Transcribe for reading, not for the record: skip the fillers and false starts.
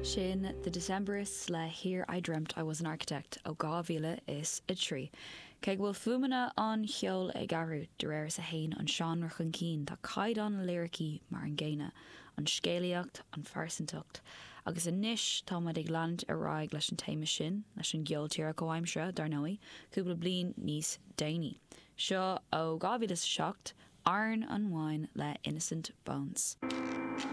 Sin The Decemberists le Here I Dreamt I Was an Architect ó 2003. Cé go bhfuil fuaimeanna an cheoil ag athrú de réir is a théann an seánra chun cinn, tá caighdeán na liricí mar an gcéanna, an scéalaíocht, an phearsantacht. Agus anois tá muid ag leanúint ar aghaidh leis an téama sin, leis an gceol tíre comhaimseartha, dar ndóigh, cúpla bliain níos déanaí. Seo ó 2007, Iron and Wine le Innocent Bones.